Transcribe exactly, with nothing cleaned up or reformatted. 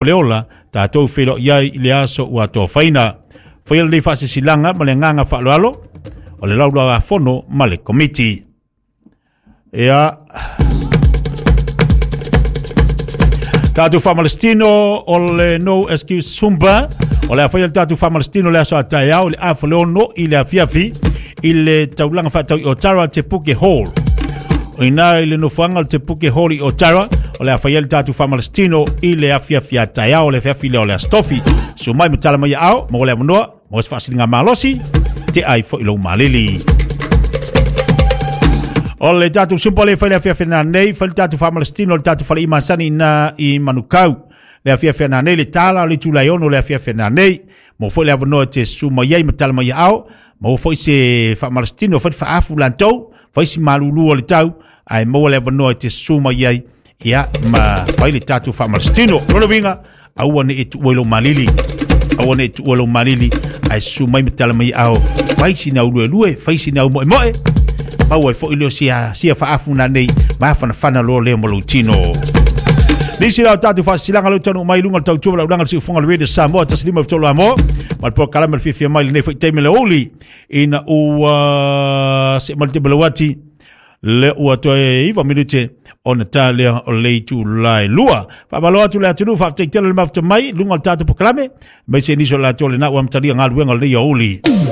Le ola tatou feiloai ai i le aso ua tofaina. Faia lenei faasilasilaga ma le agaga faaaloalo o le Laulau-a-Fono ma le Komiti. Ia tatou faamalositino o le No Excuse Zumba o le a faia le tatou faamalositino le aso a taeao i le afa le ono i le afiafi i le taulaga faatau i Otara Te Puke Hall. O ina i le nofoaga o le Te Puke Hall i Otara o le a faia le tatou faamalositino i le afiafi a taeao, le afiafi lea o le Aso Tofi. Susu mai ma tala mai aao mo le avanoa mo se faasiliga malosi te ai foi lou malili. O le tatou Zumba le fai le afiafi nei, fai le tatou faamalositino le tatou fale i masani na i Manukau. Le afiafi nei le tala o le itula e ono le afiafi nei. Mo foi le avanoa te susu mai ai ma tala mai aao, mo foi se faamalositino foi faafu lantou, fai si malulu o le tau, ae maua le avanoa te susu mai ai ia ma fai le tatou faamalositino. Lona uiga, aua ne i tuua i lou malili. Aua ne i tuua lou malili, ae susu mai ma tala mai aao, fai sina uluelue, fai sina au moemoe, maua ai foi leo sia, sia faafu na nei, mafanafana loa lea ma lou tino. Nisi la o tatou faasilasilaga leo taunuu mai luga o le tautua ma le aulaga le siufofoga o le Radio Samoa tasi lima tolu Amoa ma le polokalame le fiafia mai lenei foi taimi le uli ina ua se ma le tebelawati le ua toe iva minute ona ta lea o le itula e lua. Faamalo atu le atunuu, faafetai tele le mafuta mai luga o le tatou polokalame, aemaise nisi o latou le na ua amatalia galuega o lenei aoauli.